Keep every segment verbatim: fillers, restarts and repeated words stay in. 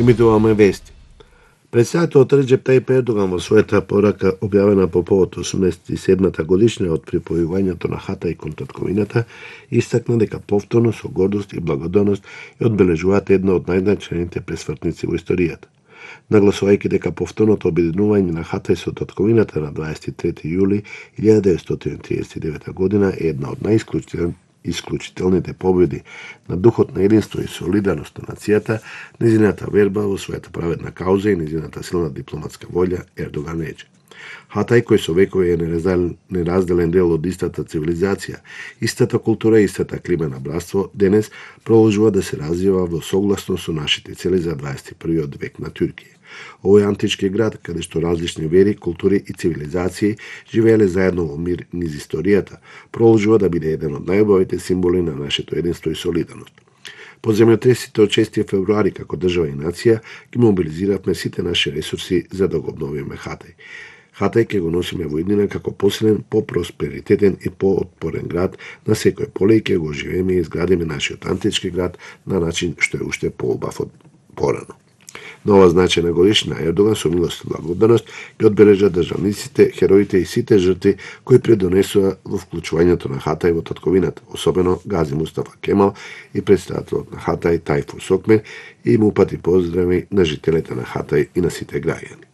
Имитуваме вести. Председателот Реџеп Тајип Ердоган во својата порака објавена по повод осумдесет и седмата годишнина од припојувањето на Хатай кон татковината, истакна дека повторно со гордост и благодарност ја одбележуваат една од најзначајните пресвртници во историјата. Нагласувајќи дека повторното обединување на Хатай со татковината на дваесет и трети јули илјада деветстотини триесет и девета година е една од најисклучителните исклучителните победи на духот на единство и солидарност на нацијата, незината верба во својата праведна кауза и незината силна дипломатска волја, Ердоган рече. Хатай, кој со векови е неразделен дел од истата цивилизација, истата култура и истата клима на братство, денес продолжува да се развива во согласно со нашите цели за дваесет и првиот век на Туркија. Овој антички град, каде што различни вери, култури и цивилизации живееле заедно во мир низ историјата, продолжува да биде еден од најубавите символи на нашето единство и солидарност. По земјотресите од шести февруари како држава и нација ги мобилизиравме сите наши ресурси за да го обновиме Хатай. Хатай ќе го носиме во иднина како посилен, по-просперитетен и по-отпорен град на секој поле и ќе го оживееме и изградиме нашиот антички град на начин што е уште поубав од порано. На ова значајна годишна Ердоган со милост и благодарност ги одбележа државниците, хероите и сите жртви кои предонесува во вклучувањето на Хатай во татковината, особено Гази Мустафа Кемал и представителот на Хатай Тајфур Сокмер и му упати поздрави на жителите на Хатай и на сите граѓани.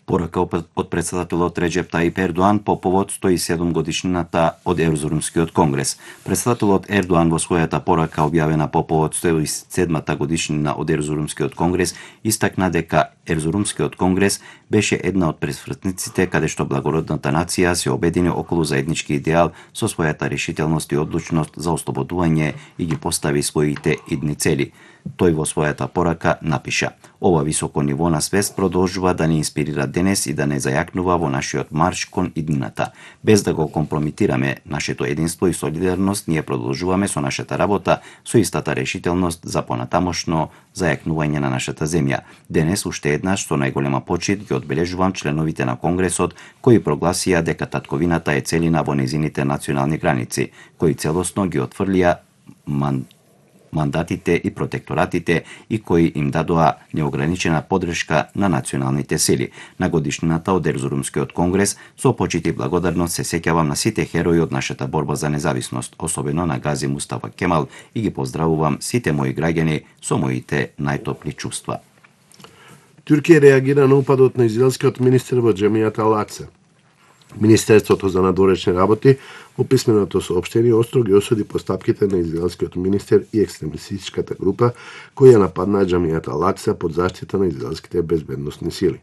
Порака од председателот Реџеп Тајип Ердоан по повод сто и седум годишнината од Ерзурумскиот конгрес. Председателот Ердоан во својата порака објавена по повод сто и седмата годишнина од Ерзурумскиот конгрес истакна дека Ерзурумскиот конгрес беше една од пресвртниците каде што благородната нација се обедини околу заеднички идеал со својата решителност и одлучност за ослободување и ги постави своите идни цели. Тој во својата порака напиша: "Ова високо ниво на свест продолжува да ни инспирира денес и да не зајакнува во нашиот марш кон иднината. Без да го компрометираме нашето единство и солидарност, ние продолжуваме со нашата работа со истата решителност за понатамошно зајакнување на нашата земја. Денес уште еднаш со најголема почит ги одбележувам членовите на Конгресот кои прогласија дека татковината е целина во незините национални граници, кои целосно ги отфрлија ман мандатите и протекторатите и кои им дадоа неограничена подршка на националните сили. На годишнината од Ерзурумскиот конгрес со почит и благодарност се сеќавам на сите херои од нашата борба за независност, особено на Гази Мустафа Кемал и ги поздравувам сите мои граѓани со моите најтопли чувства." Туркија реагира на упадот на израелскиот министер во џамијата Ал-Акса. Министерството за надворешни работи во писменото соопштение остро ги осуди постапките на израелскиот министер и екстремистичката група кои ја нападнаа џамијата Ал-Акса под заштита на израелските безбедносни сили.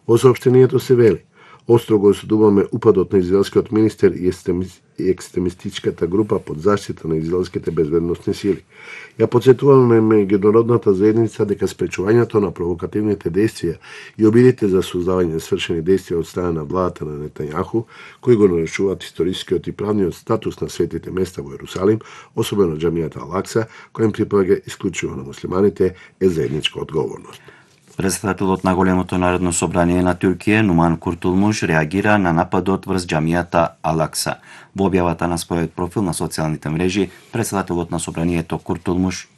Во соопштението се вели: "Остро го осудуваме упадот на израелскиот министер и екстремистичката група под заштита на израелските безбедносни сили. Ја потсетуваме меѓународната заедница дека спречувањето на провокативните действија и обидите за создавање свршени действија од страна на владата на Нетањаху, кои го нарушуваат историскиот и правниот статус на светите места во Ерусалим, особено џамијата Ал-Акса, која им припаѓа исклучиво на муслиманите, е заедничка одговорност." Председателот на Големото народно собрание на Туркија, Нуман Куртулмуш, реагира на нападот врз џамијата Ал-Акса. Во објавата на својот профил на социјалните мрежи, председателот на собранието Куртулмуш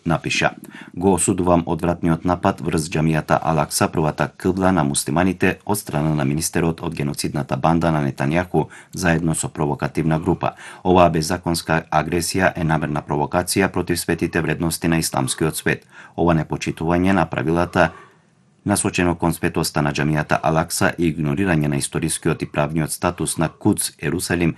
напиша: "Го осудувам одвратниот напад врз џамијата Ал-Акса, првата кибла на муслиманите од страна на министерот од геноцидната банда на Нетањаху заедно со провокативна група. Оваа беззаконска агресија е намерна провокација против светите вредности на исламскиот свет. Ова непочитување на правилата насочено кон светоста на џамијата Ал-Акса и игнорирање на историскиот и правниот статус на Кудс, Ерусалим,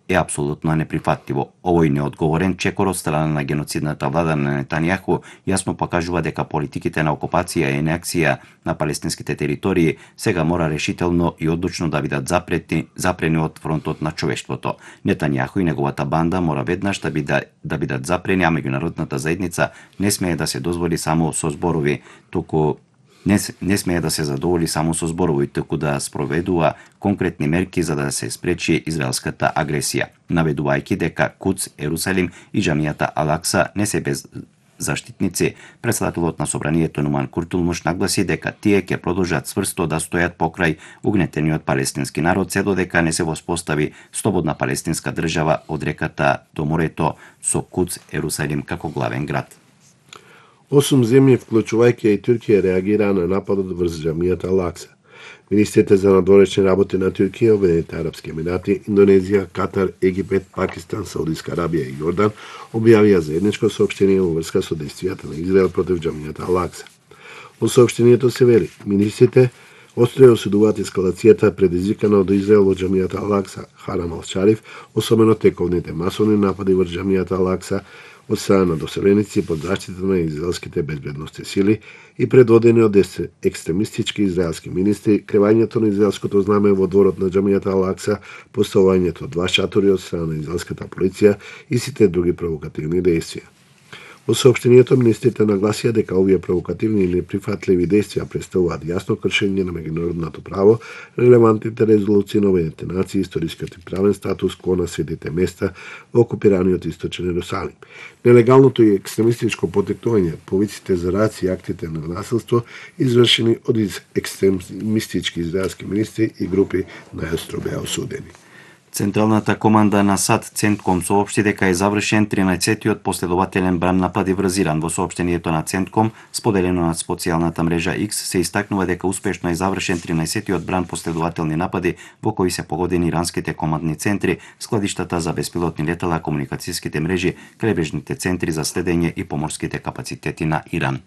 е апсолутно неприфатливо. Овој неодговорен чекор од страна на геноцидната влада на Нетањаху јасно покажува дека политиките на окупација и анексија на палестинските територии сега мора решително и одлучно да бидат запрети, запрени од фронтот на човештвото. Нетањаху и неговата банда мора веднаш да бидат, да бидат запрени, а меѓународната заедница не смее да се дозволи само со зборови, туку Не, не смее да се задоволи само со зборови, туку да спроведува конкретни мерки за да се спречи израелската агресија, наведувајќи дека Кудс, Ерусалим и џамијата Ал-Акса не се без заштитници. Председателот на собранието Нуман Куртулмуш нагласи дека тие ќе продолжат цврсто да стојат покрај угнетениот палестински народ се додека не се воспостави слободна палестинска држава од реката до морето со Кудс, Ерусалим како главен град. Осум земји, вклучувајќи и Туркија, реагираа на нападот врз џамијата Алакса. Министрите за надворешни работи на Туркија, Обединетите арапски емирати, Индонезија, Катар, Египет, Пакистан, Саудиска Арабија и Јордан објавија заедничко соопштение во врска со действијата на Израел против џамијата Алакса. Во соопштението се вели: министрите остро осудуваат ескалацијата предизвикана од Израел во џамијата Алакса, Харам ал-Шариф, особено тековните масовни напади врз џамијата Алакса од страна на доселеници под заштита на израелските безбедносни сили и предводени од екстремистички израелски министри, кревањето на израелското знаме во дворот на џамијата Алакса, поставувањето два шатори од страна на израелската полиција и сите други провокативни действија. Во соопштението министрите нагласија дека овие провокативни или неприфатливи действија представуваат јасно кршење на меѓународното право, релевантните резолуции на Обединетите нации, историскиот и правен статус ко на светите места во окупираниот источен Ерусалим, нелегалното и екстремистичко потекнување, повиците за раци и актите на насилство извршени од екстремистички израелски министри и групи најостро беа осудени. Централната команда на САД Центком соопшти дека е завршен тринаесеттиот последователен бран напад врз Иран. Во соопштението на Центком, споделено на социјалната мрежа X, се истакнува дека успешно е завршен тринаесеттиот бран последователни напади во кои се погодени иранските командни центри, складиштата за беспилотни летала, комуникацијските мрежи, крайбрежните центри за следење и поморските капацитети на Иран.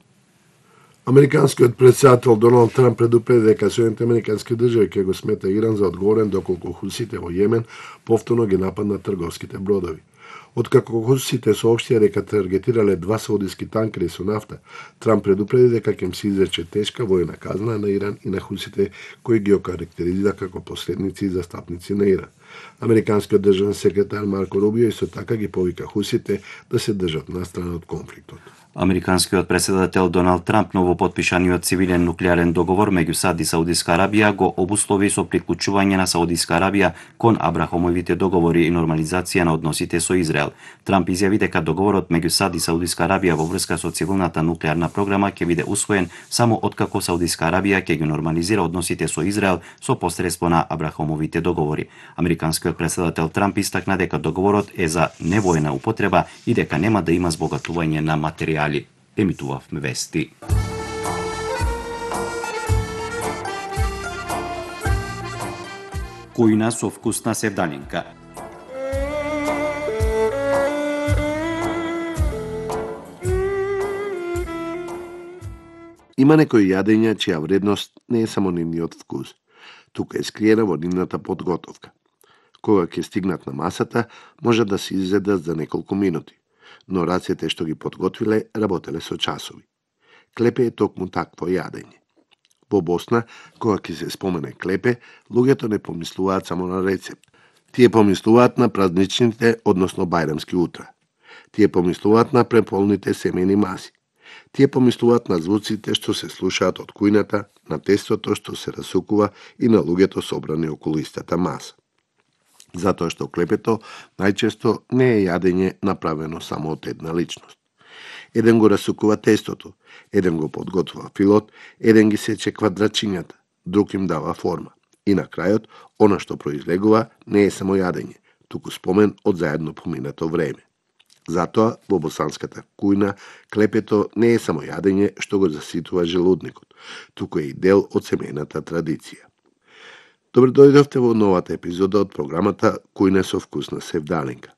Американскиот претседател Доналд Трамп предупреди дека Соединетите американски држави ќе го смета Иран за одговорен доколку хусите во Јемен повторно ги нападнат трговските бродови. Откако хусите соопштија дека таргетирале два саудиски танкери со нафта, Трамп предупреди дека ќе им се изрече тешка војна казна на Иран и на хусите кои ги окарактеризира како последници и застапници на Иран. Американскиот државен секретар Марко Рубио исто така ги повика хусите да се држат настрана од конфликтот. Американскиот претседател Доналд Трамп ново потпишаниот цивилен нуклеарен договор меѓу САД и Саудиска Арабија го обуслови со приклучување на Саудиска Арабија кон Абрахамовите договори и нормализација на односите со Израел. Трамп изјави дека договорот меѓу САД и Саудиска Арабија во врска со цивилната нуклеарна програма ќе биде усвоен само откако Саудиска Арабија ќе ги нормализира односите со Израел со посредство на Абрахамовите договори. Американскиот претседател Трамп истакна дека договорот е за невојна употреба и дека нема да има збогатување на материјали. Емитувавме вести. Кујна со вкусна севдалинка. Има некои јадења чија вредност не е само нивниот вкус, тука е скриена во нивната подготовка. Кога ќе стигнат на масата, може да се изедат за неколку минути, но рацете што ги подготвиле работеле со часови. Клепе е токму такво јадење. Во Босна, кога ќе се спомене клепе, луѓето не помислуваат само на рецепт. Тие помислуваат на празничните, односно бајрамски утра. Тие помислуваат на преполните семени маси. Тие помислуваат на звуците што се слушаат од кујната, на тестото што се расукува и на луѓето собрани околу истата маса. Затоа што клепето најчесто не е јадење направено само од една личност. Еден го расукува тестото, еден го подготвува филот, еден ги сече квадрачињата, друг им дава форма. И на крајот, она што произлегува не е само јадење, туку спомен од заедно поминато време. Затоа, во босанската кујна, клепето не е само јадење што го заситува желудникот, туку е и дел од семејната традиција. Добре дојдовте во новата епизода од програмата Кујна со вкусна севдалинка.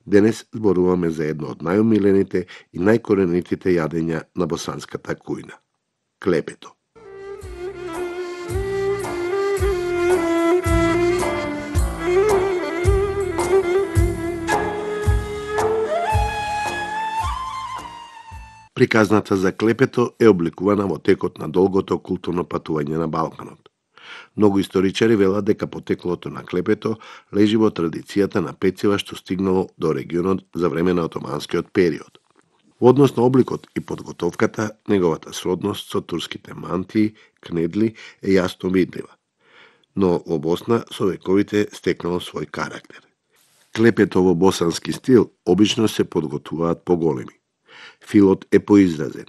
Денес зборуваме за едно од најомилените и најкоренитите јадења на босанската кујна – клепето. Приказната за клепето е обликувана во текот на долгото културно патување на Балканот. Многу историчари велат дека потеклото на клепето лежи во традицијата на пецива што стигнало до регионот за време на отоманскиот период. Во однос на обликот и подготовката, неговата сродност со турските мантии, кнедли е јасно видлива, но во Босна со вековите стекнало свој карактер. Клепето во босански стил обично се подготвуваат поголеми. Филот е поизразен,